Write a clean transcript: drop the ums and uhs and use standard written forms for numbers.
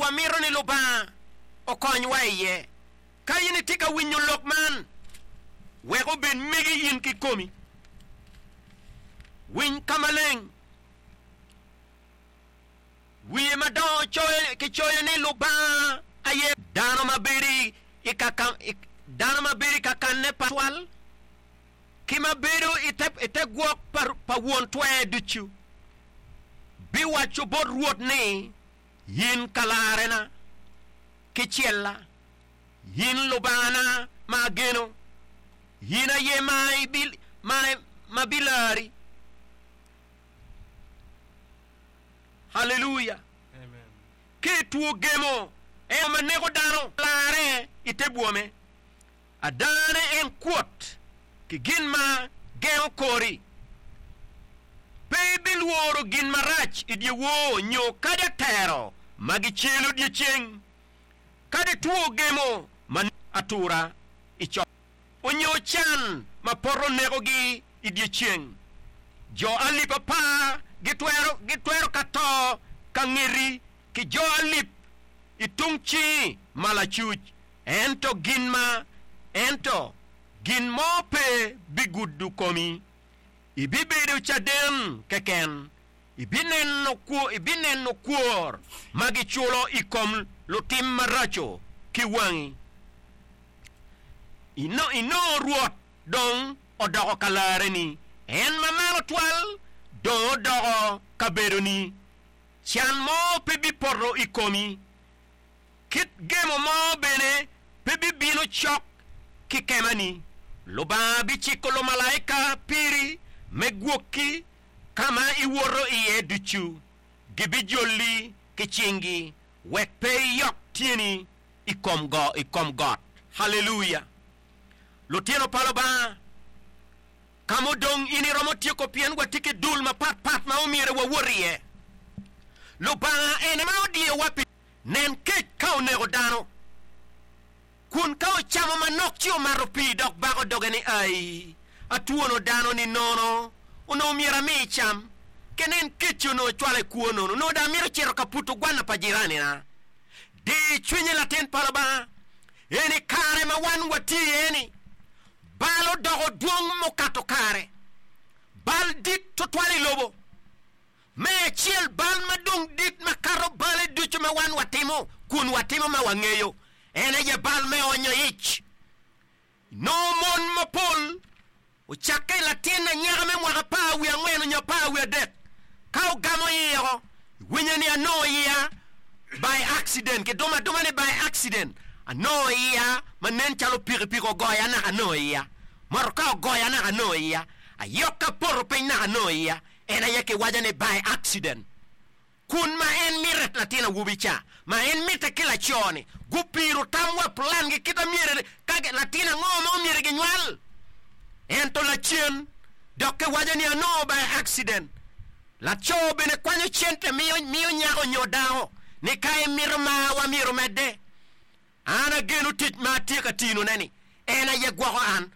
wamito ni Lubanga okonywa iye. Ka in itye ka winyo lok man, wek obed megi in kikomi. Winy ka maleng. Wiye madongo kicoyo ni Lubanga aye. Dano ma bedo i kakanne pa twal, ki ma bedo i te gwok pa Won Twer ducu, biwaco bot Rwot ni, In kalarena ki cella, in Lubangana ma ageno, in aye ma bilari. Haleluya! Ki i two gemo, en ma neko dano larre i te bwome. Adane en kwot ki gin ma gengo kori. Pe ibilworo gin marac i dyewor nyo kadi atero ma gicelo dyeceng, kadi two gemo ma neko atura i cok, onyo can ma poto nekogi i dyeceng. Jo alip apar gitwero ka to ka ngeti, ki jo alip i tung cingi ma lacuc, ento gin ma ento gin mo pe bigudo komi. Ibibedo caden keken, ibineno ibineno kwor ma giculo i kom lutim maraco ki wangi. Inongo Rwot dong odoko kalareni, en Mamalo Twal dong odoko kabedoni. Can mo pe bipoto i komi, kit gemo mo bene pe bibino cok ki kemani. Lubanga biciko lumalaika piri me gwokki ka ma iwoto iye ducu, gibijoli ki cingi wek pe iyok tyeni i kom got. Haleluya! Lutino pa Lubanga! Ka ma odong in iromo tyeko pien watye ki dul mapat pat ma omyero wawot iye. Lubanga en ma odiyowa pi nen kec ka oneko dano, kun ka ocamo manok ci omato pii dok bako doge ni, Ai, atwono dano-ni nono, onongo myero ami cam. Ke nen kec-ci onongo cwala i kwo nono, onongo dong amito cito ka puto gwanna pa jiranina. Di cwinyi latin pa Lubanga, eni kare ma wan watye iye-ni. Bal odoko dwong mukato kare. Bal dit tutwal i lobo. Me acel, bal ma dong dit makato bale ducu ma wan watimo kun watimo ma wangeyo, en aye bal me onyo ic. Nongo mon mapol ocakke i latin anyaka me mwaka 14 nyo 23 ka ogamo iye oko, iwinyo ni anongo iya by accident, kidumo aduma ni by accident, anongo iya ma nen calo pikipiki ogoya naka anongo iya, motoka ogoya naka anongo iya, ayok apoto piny naka anongo iya, en aye kiwaco ni by accident. Kun ma en mite latin awobi ca, ma en mite ki laco-ni, gupiro tam wa plan gi kit amyero ka latin ango ma omyero ginywal. Ento lacen dok kiwaco ni anongo by accident. Laco bene kwanyo cente miyo miyo nyako nyo dako ni ka imito marwa myero omedde. An ageno tic ma atye ka tino ne ni en aye gwoko an.